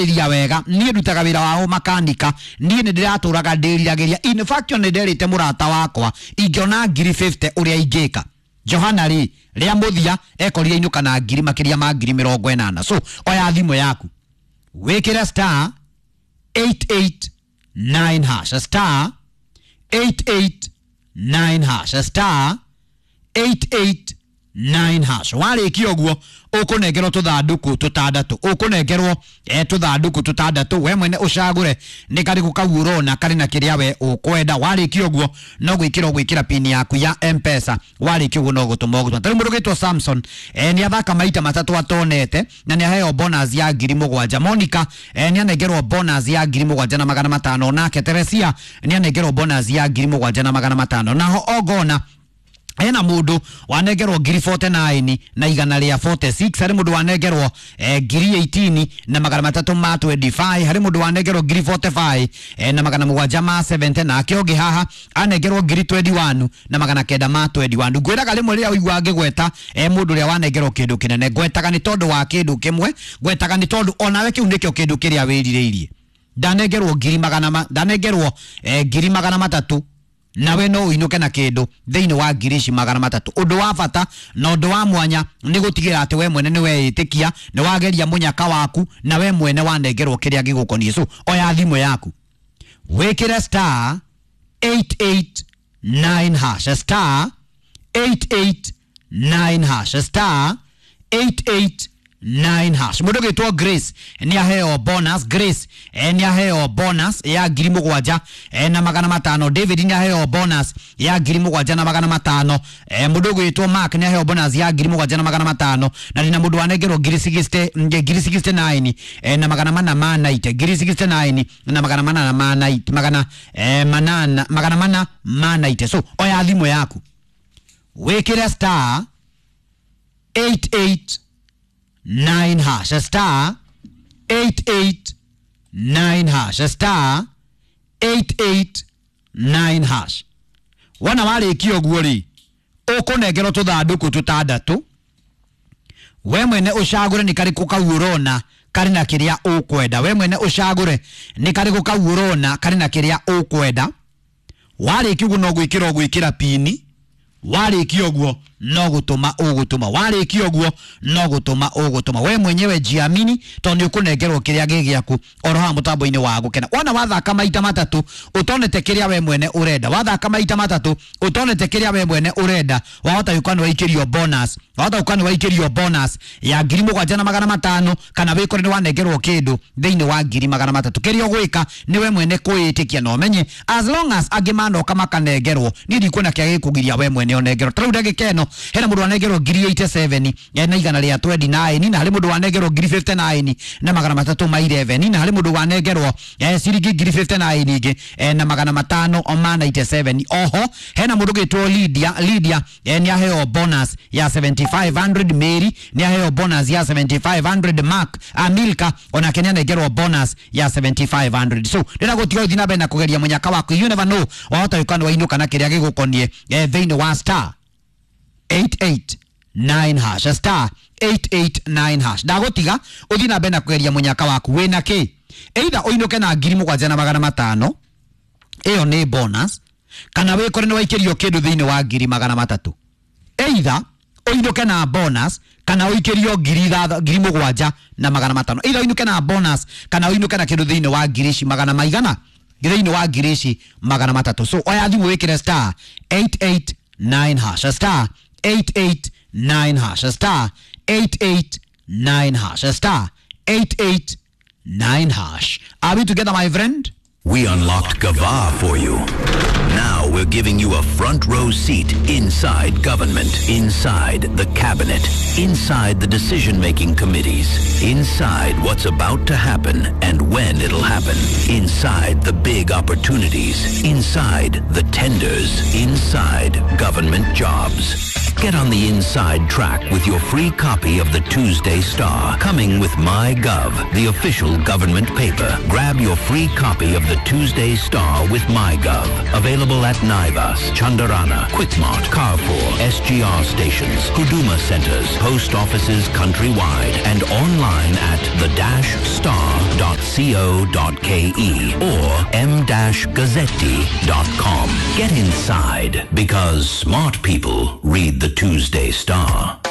Ria wega niĩ ndutaga wĩra wa makanika, niĩ nĩ ndĩratũraga ndĩriragĩria. In fact, nĩ nderĩte mũrata wakwa ingĩona ngiri 50 ũrĩa ingĩka. Johana rĩ, rĩa mũthia ekorire inũka na ngiri makĩria ma ngiri 80. So oya thimũ yaku wĩkĩre star 889 hash, star 889 hash, star 889 hash. Warĩkia ũguo ũkũnengerwo tũthandũkũ tũtandatũ, ũkũnengerwo tũthandũkũ tũtandatũ, we mwene ũcagũre nĩ karĩkũ kau ũrona karĩ na kĩrĩa we ũkwenda. Warĩkia ũguo no gwĩkĩra ũgwĩkĩra pin yaku ya M-Pesa. Warĩkia ũguo no gũtũma ũgũtũma. Tarĩu mũndũ ũgĩtwo Samson nĩ athaka maita matatũ atonete na nĩ aheo bonus ya 7,000. Monica nĩ anengerwo bonus ya 7,500. Nake Teresia nĩ anengerwo bonus ya 7,500. Naho Ogona hena mundu wanengerwo ngiri 49 na igana rĩa 46, harĩ mundu wanengerwo ngiri 18 na magana matatũ ma 25, harĩ mundu wanengerwo ngiri 45 na magana mũgwanja ma 70, nake ũngĩ haha anengerwo ngiri 21 na magana kenda ma 21. Ngwĩraga rĩmwe rĩrĩa ũigua ngĩgweta mũndũ ũrĩa wanengerwo kĩndũ kĩnene, ngwetaga nĩ tondũ wa kĩndũ kĩmwe, ngwetaga nĩ tondũ onawe kĩu nĩkĩo kĩndũ kĩrĩa wĩrirĩirie. Ndanengerwo ngiri magana ndanengerwo ngiri magana matatũ, nawe no uinuke na kindu thiini wa ngiri ici magana matatu. Undu wa bata na undu wa mwanya ni gutigira ati we mwene ni weitikia ni wageria munyaka waku na we mwene wanengerwo kiria gigukonie. So oya thimu yaku wikire star 889 hash, star 889 hash, star 889 hash. Mundu gitwo Grace ni aheo bonus. Grace ni aheo bonus ya ngiri mũgwanja na magana matano. David ni aheo bonus ya ngiri mũgwanja na magana matano. Mundu gwitwo Mark ni aheo bonus ya ngiri mũgwanja na magana matano. Na ndina mundu wanengerwo ngiri 60, ngiri 69 na magana mana ma 90, ngiri 69 na magana mana ma 90, magana manana magana mana ma 90. So oya thimu yaku wikire star 889 hash, star 889 hash, star 889 hash. Wona warĩkia ũguo rĩ, ũkũnengerwo tũthandũkũ tũtandatũ, we mwene ũcagũre nĩ karĩkũ kau ũrona karĩ na kĩrĩa ũkwenda. We mwene ũcagũre nĩ karĩkũ kau ũrona karĩ na kĩrĩa ũkwenda. Warĩkia ũguo no gwĩkĩra ũgwĩkĩra pini. Warĩkia ũguo no gũtũma ũgũtũma. Warĩkia ũguo no gũtũma ũgũtũma. We mwenyewe jiamini tondũ nĩ ũkũnengerwo kĩrĩa gĩ gĩaku oro haha mũtambo-inĩ wa gũkena. Wona wathaka maita matatũ ũtonete kĩrĩa we mwene ũrenda, wathaka maita matatũ ũtonete kĩrĩa we mwene ũrenda, wahota gũkorwo nĩ waikĩrio bonus, wahota gũkorwo nĩ waikĩrio bonus ya ngiri mũgwanja na magana matano, kana wĩkore nĩ wanengerwo kĩndũ thĩinĩ wa ngiri magana matatũ. Kĩrĩa ũgwĩka nĩ we mwene kwĩĩtĩkia na ũmenye as long as angĩ manoka makanengerwo, niĩ ndikuona kĩrĩa gĩkũgiria we mwene ũnengerwo. Ta rĩu ndagĩka ĩno hena mundu wanengerwo ngiri 87 na igana rĩa 29, na harĩ mundu wanengerwo ngiri 59 na magana matatũ ma 11, na harĩ mundu wanengerwo ciringi ngiri 59 ingĩ na magana matano ma 97. Oho hena mundu gĩtwo Lydia. Lydia nĩ aheo bonus ya 7500. Mary nĩ aheo bonus ya 7500. Mark Amilka onake nĩ anengerwo bonus ya 7500. So ndĩra gũtiga ũthiĩ na mbere na kũgeria mũnyaka waku, you never know, wahota gũkorwo nĩ wainũka na kĩrĩa gĩgũkoniĩ thĩinĩ wa star 889 hash, star 889 hash. Ndagũtiga ũthiĩ na mbere na kũgeria mũnyaka waku wĩna kĩ, either ũinũke na ngiri mũgwanja na magana matano, ĩyo nĩ bonus, kana wĩkore nĩ waikĩrio kĩndũ thĩinĩ wa ngiri magana matatũ. Either ũinũke na bonus kana ũikĩrio ngiri mũgwanja na magana matano. Either ũinũke na bonus kana ũinũke na kĩndũ thĩinĩ wa ngiri ici magana maigana, thĩinĩ wa ngiri ici magana matatũ. So oya thimũ wĩkĩre star 889 hash, star 889 hash, star 889 hash, star 889 hash. Are we together, my friend? We unlocked Gava for you. Now we're giving you a front row seat inside government, inside the cabinet, inside the decision-making committees, inside what's about to happen and when it'll happen, inside the big opportunities, inside the tenders, inside government jobs. Get on the inside track with your free copy of the Tuesday Star, coming with MyGov, the official government paper. Grab your free copy of the Tuesday Star with MyGov. Available at Naivas, Chandarana, Quickmart, Carrefour, SGR stations, Huduma centers, post offices countrywide, and online at the-star.co.ke or m-gazzetti.com. Get inside because smart people read the Tuesday Star.